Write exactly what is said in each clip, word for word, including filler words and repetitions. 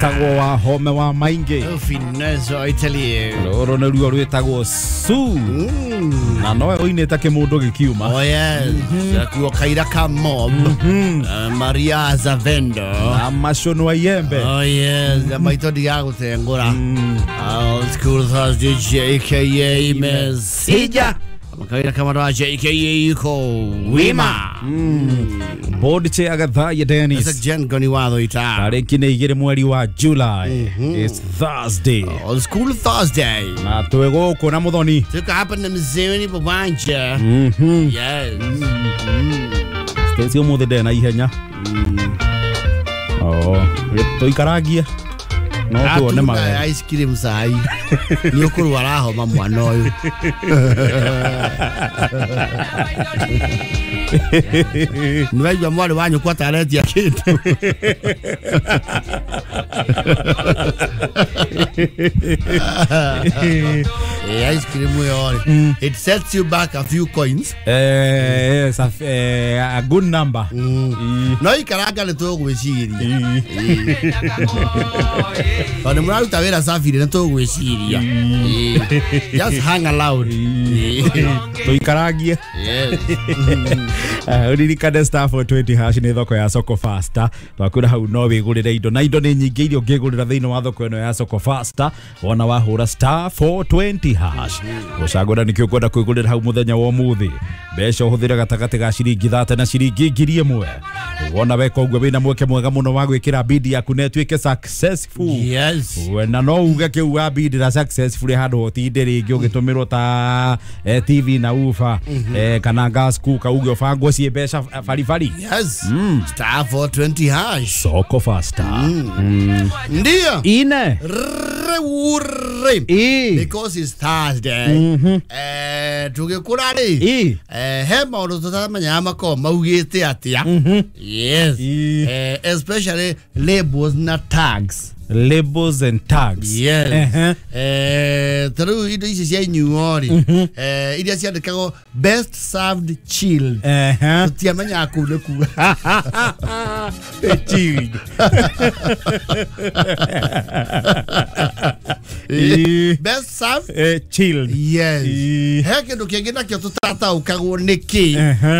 Wetagwo wa home wa maingi. Finesse I tell you. Roro nĩ ruo rwĩtagwo Su. Na nowe ũinĩte kĩmũndũ gĩkiuma. Oh yes. Kuo kaira ka mob. Maria Zavendo. Na macono wa iembe. Oh yes. Na maitho ndigagũtengũra. Old School Thursday J K A Mesija. Makaira kama wa J K A ko wima. Board chair Agatha Dennis. That's a Jen Goni watho ita. Tarĩki nĩ igĩrĩ mweri wa July. It's Thursday. Old School Thursday. Na twĩ gũkũ na Muthoni. Tuko hapa na mzee Bobanja. Yes. Stacy ũmũthĩ ndarĩ na ihenya. Oh, tũikaragie. No tuone magego. Ice cream sai. Nĩ ũkũrwara homa mwana ũyũ. Nĩwaigua mwarĩ wa nyũkwa ta aretia kĩndũ. Eh, ice cream ĩyo rĩ, it sets you back a few coins. Eh, yes, a, eh, a good number. No ikaranga nĩ tũgwĩciria. Tondũ mũraruta wĩra safi nĩ tũgwĩciria. Just hang aloud. Tũikaragie. Yes. Uririkane star four twenty hash nĩ thoko ya Soko Faster. Twakwĩra hau no wĩgũrĩre indo na indo nĩ nyingĩ iria ũngĩgũrĩra thĩinĩ wa thoko ĩno ya Soko Faster. Wona wahũra star four twenty hash. Ũcagũra nĩkĩo ũkwenda kwĩgũrĩra hau mũthenya wa ũmũthĩ. Mbeca ũhũthĩre gatagatĩ ga ciringi thate na ciringi ngiri ĩmwe. Wona weka ũguo wĩna mweke mwega mũno wa gwĩkĩra bid yaku na ĩtuĩke successful. Yes. Na no uge kĩu wa bid na successful handũ ũtinde rĩngĩ ũgĩtũmĩrwo ta T V na ufa kana gas cooker uge ũbangwo ciĩ mbeca baribari. Yes. Star four twenty hash. Soko Faster. Ndio. Ine. Re. Because it's Thursday. Eh, tũgĩkũra rĩ. Eh, he maũndũ tũtamenyaga makoragwo maugĩte atĩa. Yes. Eh, especially labels na tags. Labels and tags. Yes. Uh-huh. Eh, ta rĩu indo ici cia inyuo rĩ, eh, iria ciandĩkagwo best served chilled. Uh-huh. Tũtiamenyaga kũu nĩ kuga. Chilled. Best served eh, chilled. Yes. He kĩndũ kĩngĩ nakĩo tũtataũkagwo nĩ kĩ.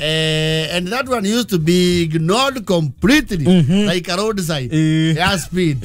Eh, and that one used to be ignored completely. Like a roadside. Yeah, speed.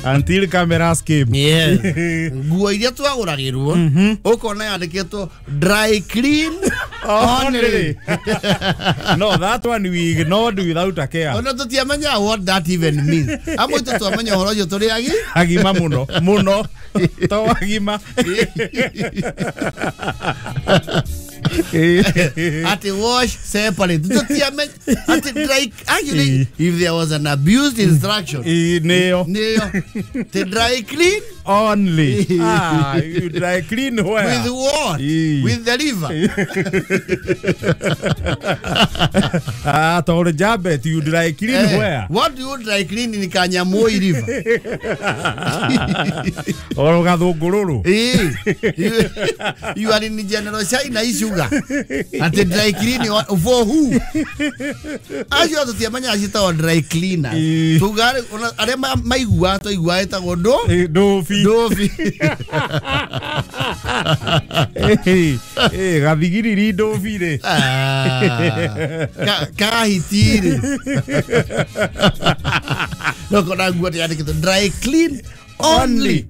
Until cameras came. Yes. Nguo iria twagũragĩrwo ũkona yandĩkĩtwo dry clean only. No, that one we ignored without a care. Ona tũtiamenyaga what that even means. Amwe itũ twamenya ũhoro ũcio tũrĩ agi agima mũno mũno to agima. Ati wash separate. Ati dry. Actually, if there was an abused instruction, neo neo, to dry clean only. Ah, you dry clean where? With what? With the liver. Ah, to jabet you dry clean where? What do you dry clean in Kanyamoi River? Oro gathungururu. Eh, you are in General China sugar. Ati dry clean for who? Acio tũtiamenyaga ciĩtagwo dry cleaner. Tuga arĩa maiguaga twaiguaga ĩtagwo ndũ ndũbi. Ndũbi. Eh, gathigiriri ndũbi rĩ. Kahiti rĩ. No kona nguo yandĩkĩtwo dry clean only.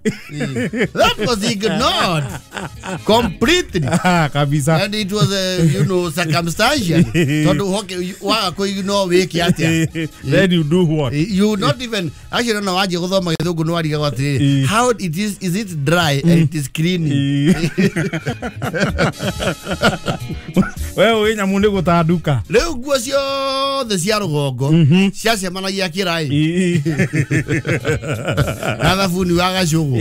That was ignored completely. Ah, kabisa. And it was, uh, you know, circumstantial. Tondu hoke waga kũ ignore wĩke atĩa. Then you do what? You not even actually no waje gũthoma gĩthũngũ no warigagwo atĩrĩrĩ, how it is, is it dry and it is cleaning? We wĩ nyamũ nĩ gũtanduka. Rĩu nguo ciothe cia rũgongo ciacemanagia kĩraĩ na thabuni wa gacũgũ.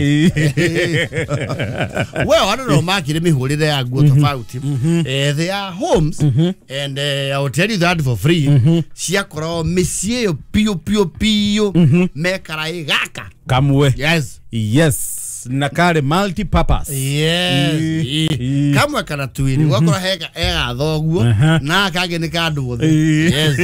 Well, I don't know, makĩrĩ mĩhũrĩre ya nguo tofauti. Eh, they are homes and uh, I will tell you that for free. Ciakoragwo mĩciĩ ĩyo piũ piũ piũ me karaĩ gaka kamwe. Yes. Yes. Yes, na kare multi purpose. Yes. Ii. Kamwe kana twiri gwakora hega ega thoguo Aha. na kangĩ nĩ ka andũ othe. Ii. Yes.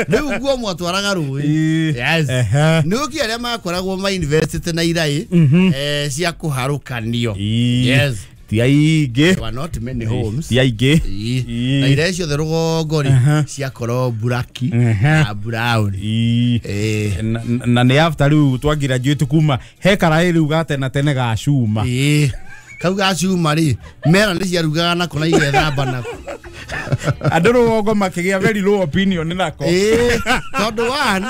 Rĩu nguo mwatwaraga rũĩ. Ii. Yes. Ehe. Nĩ ũkĩ arĩa makoragwo ma university na iraĩ Mhm. eh, cia kũharũkanio. Ii. Yes. Ti aingĩ. There were not many homes. Ti aingĩ. Ii. Ii. Na iraĩ ciothe rũgongo rĩ Aha. ciakorwo buraki Aha. na brown. Ii. Eh. Na- na nĩ after rĩu twa graduate kuma he karaĩ rĩu ga tene tene ga cuma. Ii. Kau ga cuma rĩ mera nĩ ciarugaga nako na igethamba nako. Andũ rũgongo makĩgĩa very low opinion nako. Ĩĩ, tondũ one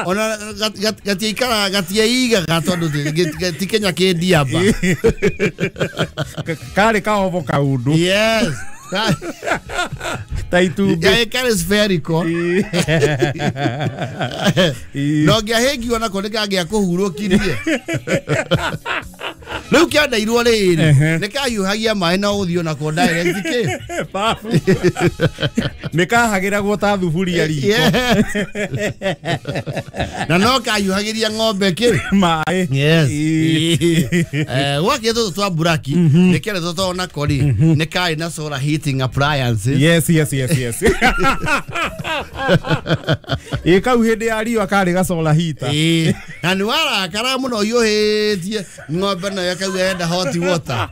ona gat- gat- gatiaikara gatiaigaga tondũ ti- gĩ- ti Kenya kĩ ndiamba. Ka- karĩ kaobo kaũndũ Yes. Ka- ta itumbĩ. Yaĩ karĩ spherical. Ii. Ii. Na ũngĩahĩngio nako nĩ kangĩakũhurũkirie. Rĩu kĩandairwo rĩrĩ Ehe. nĩ kahiũhagia maĩ na ũthiĩ onako direct kĩ. Babu. Nĩ kahagĩragwo ta thuburia riko. Yes. Na no kahiũhagĩria ng'ombe kĩ. Maĩ. Yes. Ii. Eh, gwakĩ tũtũ twa buraki nĩ kĩaretwo tondũ nako rĩ nĩ karĩ na solar heating appliances. Yes, yes, yes, yes. Ĩ kau hĩndĩ ya riũa karĩ gacola heater. Ĩĩ. Na nĩ warakara mũno ũhiũhĩtie ng'ombe nayo ĩkauga enda hot water.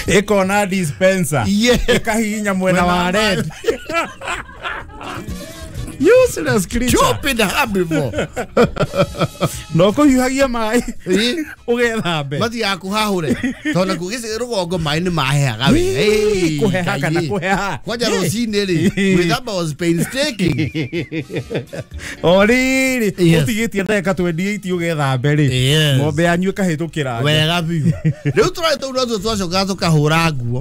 Ĩkona dispenser. Yeah. Ĩkahihinya mwena wa Mwena wa red. Useless creature. Stupid herbivore. No kũhiũhagia maĩ Ĩĩ. ũgethambe. Mathiaga kũhahũre tondũ nakuo gĩci rũgongo maĩ nĩ mahehaga we. Ĩĩ, Ĩĩ, kũheha kana Ngai. kũheha. Kwanja Ĩĩ. rũcinĩ rĩ gwĩthamba was painstaking. O rĩrĩ Yes. ũtigĩtie ndagĩka twenty eight ũgethambe rĩ Yes. ng'ombe yanyu ĩkahĩtũkĩra nja. Wega biũ. Rĩu tũrarĩ tũu notuo twacokaga tũkahũra nguo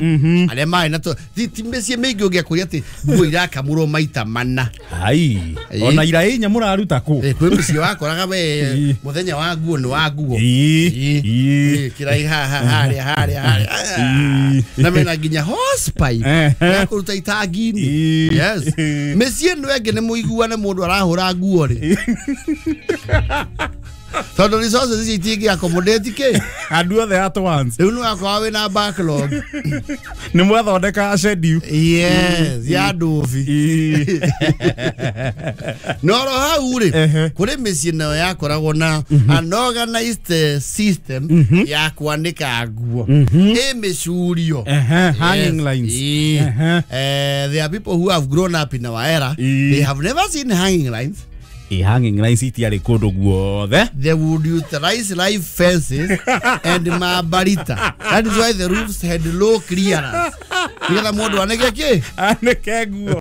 arĩa marĩ na tũ- ti ti mĩciĩ mĩingĩ ũngĩakũria atĩ nguo irakamũrwo maita mana. Ai, Ĩĩ. ona ira inya mũraruta kũ? Ĩ, kwĩ mũciĩ wakoraga we Ĩĩ. mũthenya wa nguo nĩ wa nguo. Ĩĩ, Ĩĩ. ĩĩ. Ĩĩ, kĩrai haha harĩa harĩa harĩa. Ĩĩ. Na mena nginya hosepipe Ehe. ya kũruta itangi-inĩ. Ĩĩ. Yes. Mĩciĩ ĩno ĩngĩ nĩ mũiguane mũndũ arahũra nguo rĩ. Tondũ resources ici itingĩ accommodate kĩ. Andũ othe at once. Rĩu nĩ wakorwo wĩna backlog. Nĩ mwathondeka schedule. Yes, ya ndũbi. Ĩĩ. No ro hau rĩ Ehe. kũrĩ mĩciĩ nayo yakoragwo na an organized eh, system ya kwanĩka nguo. Ĩ mĩcurio. Ehe, hanging lines. Ĩĩ. Ehe. Eh, there are people who have grown up in our era. Ĩĩ. They have never seen hanging lines. Ĩ hanging lines itiarĩ kũndũ guothe. They would utilize live fences and mabarita. That is why the roofs had low clearance. Nĩgetha mũndũ anĩke kĩ? Anĩke nguo.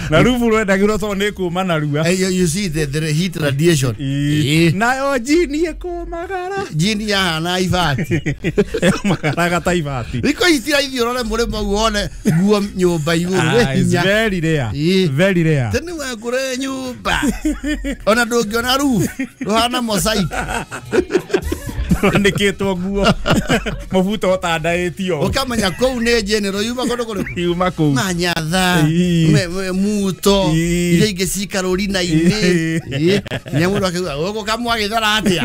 Na rubu rwendagĩrwo tondũ nĩ kũma narua. Eh, you, you see the, the heat radiation. Ĩĩ. Ĩĩ. Nayo jini ĩkũmagara. Jini yahana ibati. Ĩkũmagaraga ta ibati. Thikũ ici ti raithi ũrore mũrĩmo ũguo wone nguo nyũmba igũrũ. Ah, it's Wĩ hinya. very rare. Ĩĩ. Very rare. Tene wakũre nyũmba. Ona ndũngĩona roof. Rũhana mosaic. Rwandĩkĩtwo nguo. Mũbuto ũtandaĩtio. Ũkamenya kũu nĩ general yuma kũndũ kũrĩkũ. Yuma kũu. Manyatha, Ĩĩ. me- me- muto, Ĩĩ. iria ingĩ cikarũrina-inĩ. Ĩĩ. Nginya mũndũ akiuga gũkũ kamwagĩthara atĩa.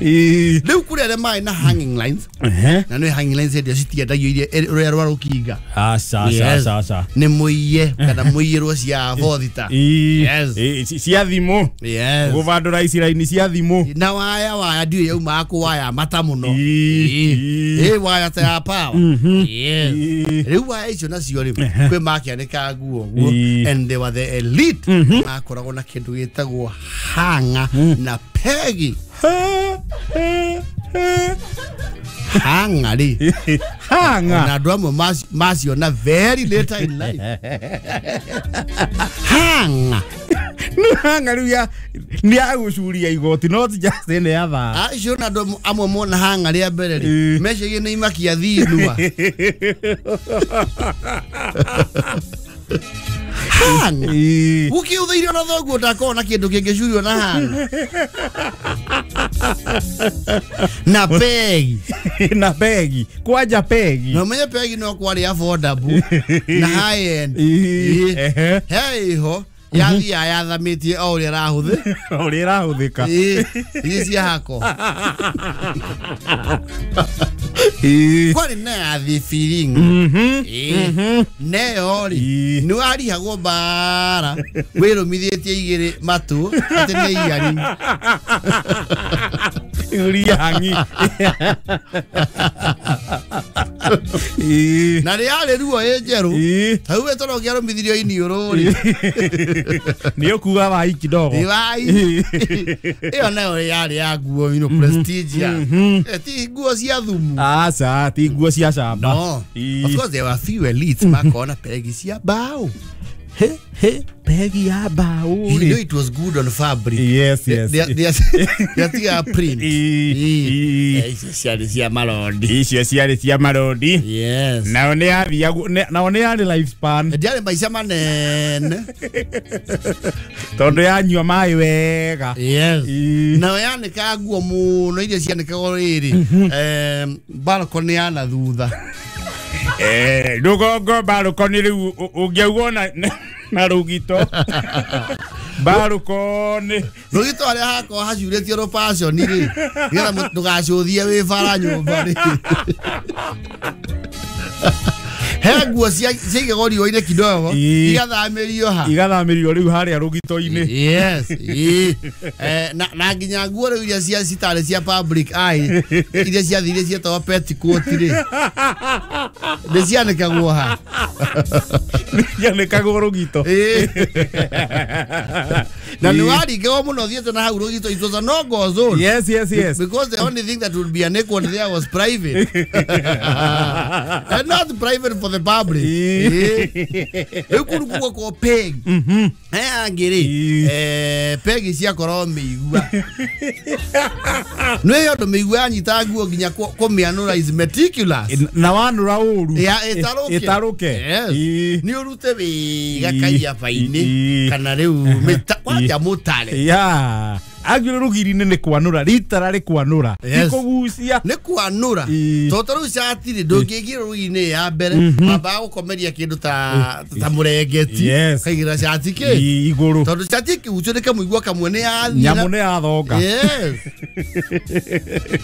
Ĩĩ. Rĩu kũrĩ arĩa marĩ na hanging lines Ehe. na nĩ hanging lines hĩndĩ ĩyo citiendagio iria rũrĩa rwa rũkinga. Aca, aca, Yes. aca, aca. Nĩ mũiye kana mũiyĩrwo cia bothita. Ĩĩ. Yes. Ĩĩ, ci- cia thimũ. Yes. Gũbandũra ici raini cia thimũ. Na waya waya ndiũĩ yaumaga kũ waya mata mũno. Ĩĩ. Ĩĩ. Ĩĩ waya ta ya power. Yes. Ĩĩ. Rĩu waya icio nacio rĩ kwĩ makĩanĩka nguo ũguo Ĩĩ. and they were the elite makoragwo na kĩndũ gĩtagwo hanga na pegi. Hanga rĩ Hanga. na andũ amwe maci- maciona very later in life. Hanga. Nĩ hanga rĩu ya nĩ ya gũcuria igoti not just ĩno ya thaa. Acio na andũ amwe mona hanga rĩa mbere rĩ Ĩĩ. mecirie nĩ imakia thinua. Hanga. Ĩĩ. Ũkĩũthĩirio na thoguo ndakorwo na kĩndũ kĩngĩcurio na hanga. Na pegi. Na pegi. Kwanja pegi. Na ũmenye pegi no kwarĩ affordable na high end. Ĩĩ. Ĩĩ. Ehe. He iho Yathia yathamitie o ũrĩa ĩrahũthĩ ũrĩa ĩrahũthĩka ici cia hako kwarĩ na ya thibiringi neyo rĩ nĩ warihagwo mbara wĩrũmithĩtie igĩrĩ matũ atĩ nĩ iyari uriangi na rĩarĩ ruo ĩ njerũ hau we toro ũngĩarũmithirio iniũrũ rĩ nĩ ũkuga wai kidogo wai ĩyo nayo yarĩ ya nguo you know prestigious ti nguo cia thumu aca ti nguo cia camba no of course there were few elites makona pegi cia mbao he he pegi ya mbao you know it was good on fabric yes yes they they they print icio ciarĩ cia marondi icio ciarĩ cia marondi yes nao nĩ yathiagwo nao nĩ yarĩ life span ndiarĩ maica manene tondũ yanyua maĩ wega yes nao yanĩkaga nguo mũno iria cianĩkagwo rĩrĩ eh balcony ya na thutha eh rũgongo balcony rĩu ũngĩaugwo na na rũgito balcony rũgito harĩa hakorwo hacurĩtio rũbaconi rĩ nĩgetha ndũgacũthie wĩ bara nyũmba rĩ he nguo ciaigagwo riũa-inĩ kidogo igathamĩrio ha igathamĩrio rĩu harĩa rũgito-inĩ yes eh na na nginya nguo rĩu iria cia citarĩ cia public eye iria ciathire cietagwo petticoat rĩ nĩ cianĩkagwo ha cianĩkagwo rũgito na nĩ waringagwo mũno thiĩte na hau rũgito it was a no go zone yes yes yes because the only thing that would be an equal there was private and not private for the public rĩu kũu kuo kwa peg aya angĩ rĩ eh pegi ciakorwo mĩigua nĩ ũndũ mĩigua yanyita nguo nginya kũmĩanũra is meticulous na wanũra ũru ĩtarũke ĩtarũke nĩ ũrute wega kaiaba-inĩ kana rĩu kwanja mũtare yeah agire rugiri-inĩ nĩ kwanũra ritara rĩ kwanũra ti kũgucia nĩ kwanũra tondũ ta rĩu cati rĩ ndũngĩigĩra rũgiri-inĩ ya mbere wambaga gũkomeria kĩndũ ta ta mũrengeti kaigĩra cati kĩ igũrũ tondũ cati ĩkĩgucio nĩ kamũigua kamwe nĩ yathiĩ nyamũ nĩ yathonga yes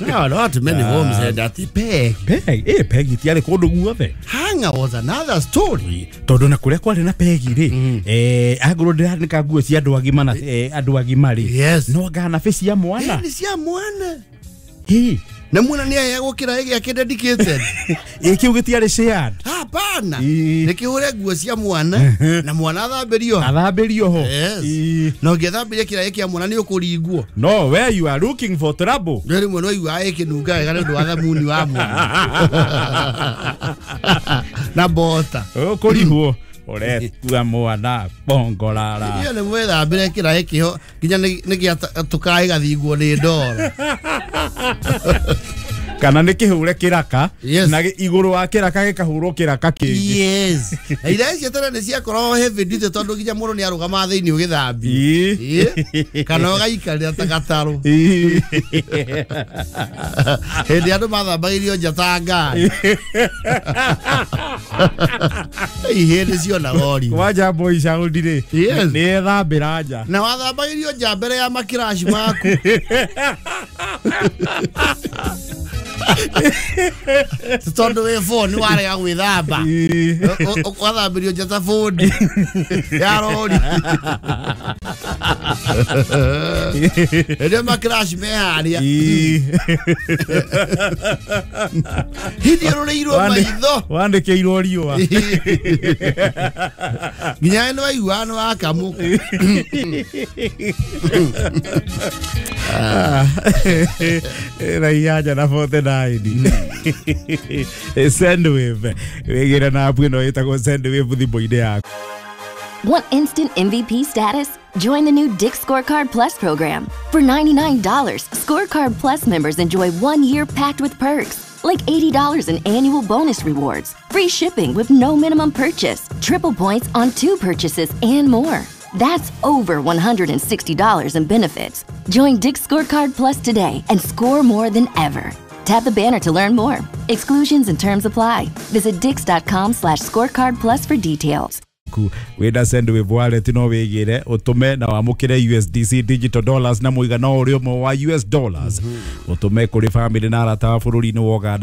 no not many homes had that peg peg eh peg itiarĩ kũndũ guothe hanger was another story tondũ na kũrĩa kwarĩ na pegi rĩ eh angorwo ndĩranĩka nguo cia andũ agima na andũ agima rĩ yes no ngana be cia mwana nĩ cia mwana ĩ na mwana nĩ aheagwo kĩraĩ gĩake dedicated ĩ kĩu gĩtiarĩ shared hapana nĩ kĩhũre nguo cia mwana na mwana athambĩrio athambĩrio ho na ũngĩthambĩria kĩraĩ kĩa mwana nĩ ũkũringwo no where you are looking for trouble nĩ rĩmwe no iguaga ĩkĩnunga wega nĩ ũndũ wa thamuni wa mwana na bota ũkũrihwo ũretua mwana bongorara iyo nĩ mwĩthambĩre kĩraĩ kĩho nginya nĩ gĩatũkaĩ gathingwo nĩ ndoro kana nĩ kĩhũre kĩraka Yes. na igũrũ wa kĩraka gĩkahũrwo kĩraka kĩngĩ yes na iraĩ cia tene nĩ ciakoragwo heavy duty tondũ nginya mũndũ nĩ arũgamaga thĩinĩ ũgĩthambia Ĩĩ. kana ũgaikarĩra ta gatarũ Ĩĩ. hĩndĩ andũ mathambagĩrio nja ta ngari ihĩndĩ cionaga ũrimũ kwanja boy child rĩ Yes. nĩ ethambĩra nja na wathambagĩrio nja mbere ya makiraci maku tondũ wĩ boni warega gwĩthamba Ĩĩ. wathambĩrio nja ta bũndi ya rori rĩrĩa makiraci me harĩa Ĩĩ. hĩndĩ ĩrũrĩirwo Wandĩ- maitho wandĩkĩirwo riũa nginya nĩ waiguaga nĩ wakamũka na inyanya na forty nine Sendwave wĩgĩre na app ĩno ĩtagwo Sendwave thimũ-inĩ yaku. Want instant M V P status? Join the new Dick's Scorecard Plus program. For ninety-nine dollars, Scorecard Plus members enjoy one year packed with perks, like eighty dollars in annual bonus rewards, free shipping with no minimum purchase, triple points on two purchases, and more. That's over one hundred sixty dollars in benefits. Join Dick's Scorecard Plus today and score more than ever. Tap the banner to learn more. Exclusions and terms apply. Visit dicks dot com slash scorecard plus for details. yaku wĩna Sendwave wallet no wĩgĩre ũtũme na wamũkĩre U S D C digital dollars na mũigana o ũrĩa ũmwe wa U S dollars, ũtũme kũrĩ family na arata wa bũrũri-inĩ wa Uganda.